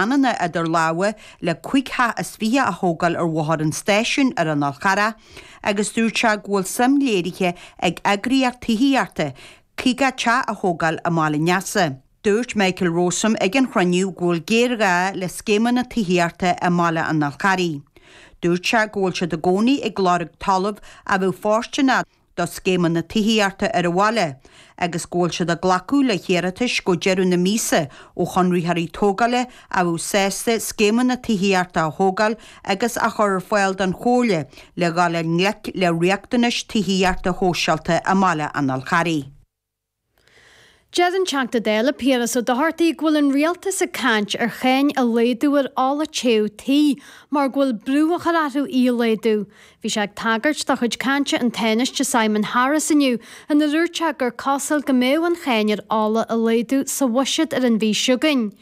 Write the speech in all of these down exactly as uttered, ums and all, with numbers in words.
pleananna idir lámha le cúig theach is fiche a thógáil ar Bhóthar an Stáisiúin ar an Fhál Charrach agus dúirt sé go bhfuil suim léirithe ag eagraíocht tithíochta caoga teach a thógáil i mBaile an Easa. Dúirt Michael Rowsome ag an chruinniú go bhfuil géarghá le scéimeanna tithíochta i mBaile an Fháil Charraigh. Dúirt sé go bhfuil siad i gcónaí ag lorg talamh a bheadh fóirsteanach do scéimeanna tithíochta ar an bhaile, agus go bhfuil siad ag glacadh le hiarratais go deireadh na míosa ó chonraitheoirí tógála a bheadh sásta scéimeanna tithíochta a thógáil agus a chur ar fáil don chomhairle le dhul i ngleic le riachtanais tithíochta shóisialta i mBaile an Fháil Charraigh. Deir an Teachta Dála Piaras Ó Dochartaigh go bhfuil an rialtas ag caint ar cháin a laghdú ar ola téamh tí mar go bhfuil brú á chur orthu í a laghdú. Bhí sé ag tagairt dá chuid cainte an Tánaiste Simon Harris inniu ina dúirt sé gur cosúil go mbeadh an cháin ar ola a laghdú sa bhuiséad ar an mhí seo chugainn.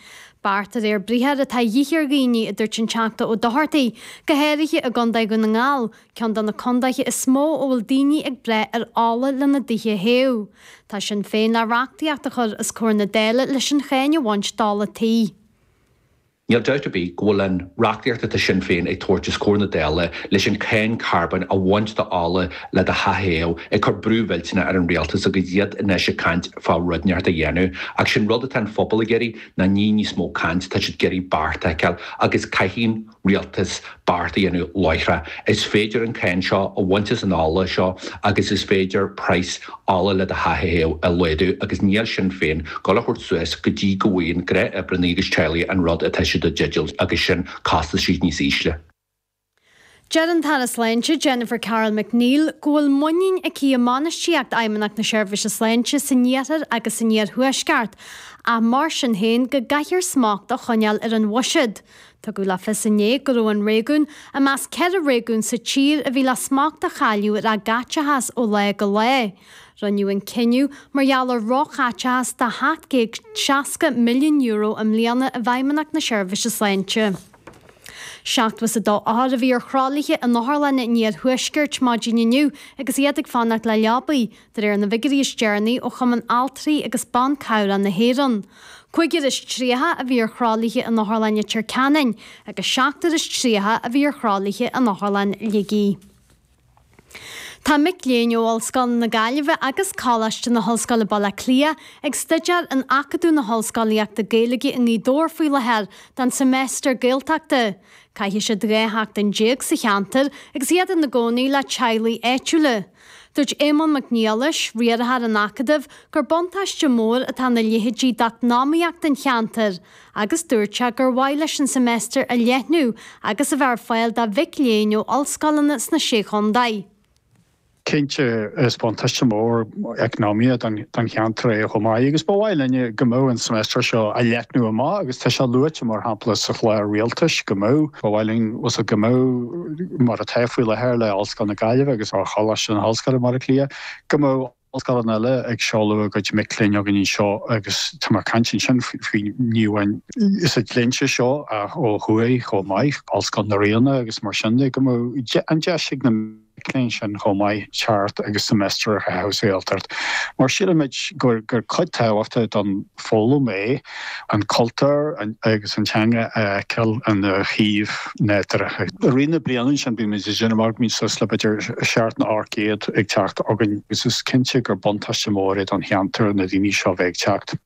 Beart de réir briathair atá de dhíth ar dhaoine a dúirt an Teachta Ó Dochartaigh, go háirithe i gContae Dhún na nGall, ceann de na contaetha is mó a bhfuil daoine ag brath ar ola lena dtithe a théamh. Tá Sinn Féin le reachtaíocht a chur os comhair na Dála leis an cháin a bhaint d'ola tí. Níl dabht ar bith go bhfuil an reachtaíocht atá Sinn Féin ag tabhairt os comhair na Dála leis an cháin carbóin a bhaint d'ola le do theach a théamh ag cur brú millteanach ar an rialtas agus iad anois ag caint fá rud inteacht a dhéanamh. Ach sin rud atá an phobal ag iarraidh ná ní níos mó caint tá siad ag iarraidh beart a fheiceáil agus caithfidh an rialtas beart a dhéanamh láithreach. Is féidir an cáin seo a bhaint as an ola seo agus is féidir praghas ola le do theach a théamh a laghdú agus níl Sinn Féin ag gabháil a thabhairt suas go dtí go bhfaigheann gnáthoibrithe agus teaghlaigh an rud atá siad i dteideal agus sin costaisí níos ísle. Deir an tAire Sláinte Jennifer Carroll MacNeill go bhfuil muinín aici i mbainistíocht Fheidhmeannacht na Seirbhíse Sláinte san iarthar agus san iarthuaisceart, ach mar sin féin go gcaithfear smacht a choinneáil ar an bhuiséad. Tugadh le fios inné go raibh an réigiún i measc ceithre réigiún sa tír a bhí le smacht a chailleadh ar a gcaiteachas ó lá go lá. Rinneadh an cinneadh mar gheall ar róchaiteachas de sheacht gcéad seasca milliún euro i mbliana i bhFeidhmeannacht na Seirbhíse Sláinte. Seachtó is a dó othar a bhí ar thralaithe in otharlanna an iarthuaiscirt maidin inniu agus iad ag fanacht le leabaí, de réir na bhfigiúirí is deireanaí ó Chumann Altraí agus Ban Cabhrach na hÉireann. Cúigear is tríocha a bhí ar thralaithe in Otharlann Leitir Ceanainn agus seachtar is tríocha a bhí ar thralaithe in Otharlann Shligigh. Tá mic léinn ó Ollscoil na Gaillimhe agus Coláiste na hOllscoile Baile Átha Cliath ag staidéar in Acadamh na hOllscolaíochta Gaeilge i nGaoth Dobhair faoi láthair don seimeastar Gaeltachta. Caithfidh siad dhá sheachtain déag sa cheantar agus iad ina gcónaí le teaghlaigh áitiúla. Dúirt Éamonn Mac Niallais, riarthóir an Acadaimh, gur buntáiste mór atá ina leithéidí d'eacnamaíocht an cheantair, agus dúirt sé gur mhaith leis an seimeastar a leathnú agus a bheith ar fáil do mhic léinn ó ollscoileanna sna sé chontae. Cinnte is buntáiste mór eacnamaíoch don cheantar é chomh maith agus ba mhaith linne go mbeadh an semester seo a leathnú amach agus tá sé luaite mar shampla sa chlár rialtais go mbeadh ba mhaith linn go mbeadh mar atá faoi láthair le Ollscoil na Gaillimhe agus ar Choláiste na hOllscoile Baile Átha Cliath go mbeadh ollscoileanna eile ag seoladh a gcuid mic léinn againn anseo agus tá mar caint sin faoi ní amháin sa dlínse seo ó thuaidh chomh maith Ollscoil na Ríona agus mar sin de go mbeadh an deis ag na mic léinn sin chomh maith teacht agus semester a chaitheamh sa Ghaeltacht. Mar sílimid gur gur cuid tábhachtach don foghlaim é an cultúr agus an teanga a fheiceáil ina shuíomh nádúrtha. I rith na bliana sin bímid ag déanamh mar bíonn suas le b'fhéidir seacht nó ocht gcéad ag teacht againn agus is cinnte gur buntáiste mór é don cheantar na daoine seo bheith ag teacht.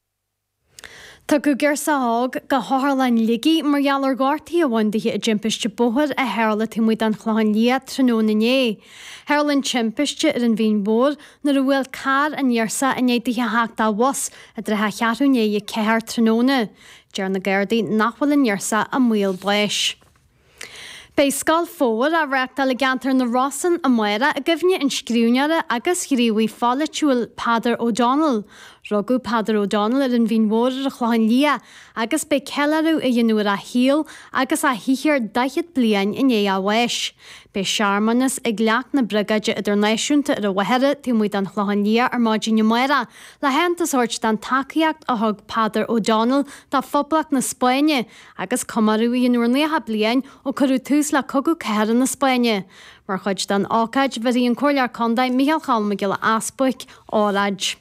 Tugadh girseach óg go hOtharlann Shligigh mar gheall ar ghortuithe a bhain di i dtimpiste bóthair a tharla taobh amuigh den Chlochán Liath tráthnóna inné. Tharla an timpiste ar an Mhín Mhór nuair a bhuail carr an ghirseach i ndiaidh di a theacht dá bhus i dtrátha cheathrú i ndiaidh a ceathair tráthnóna. Deir na Gardaí nach bhfuil an ghirseach i mbaol báis. Beidh Scoil Fómhair á reáchtáil i gceantar na Rosann amárach i gcuimhne an scríbhneora agus ghníomhaí pholaitiúil Peadar O'Donnell. Rugadh Peadar O'Donnell ar an Mhín Mhór ar an Chlochán Liath agus beidh ceiliúradh á dhéanamh ar a shaol agus a shaothar daichead bliain i ndiaidh a bháis. Beidh searmanas ag leacht na Briogáide Idirnáisiúnta ar an Mhachaire taobh amuigh den Chlochán Liath ar maidin amárach le haitheantas a thabhairt don tacaíocht a thug Peadar O'Donnell do Phoblacht na Spáinne agus comóradh a dhéanamh ar nócha bliain ó cuireadh tús le Cogadh Cathartha na Spáinne. Mar chuid den ócáid, bhéarfaidh an Comhairleoir Contae Micheál Cholm Mac Giolla Easbuic óráid.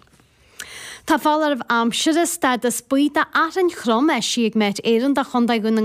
Tá foláireamh aimsire stádas buí d'fhearthainn throm eisithe ag Met Éireann do Chontae Dhún na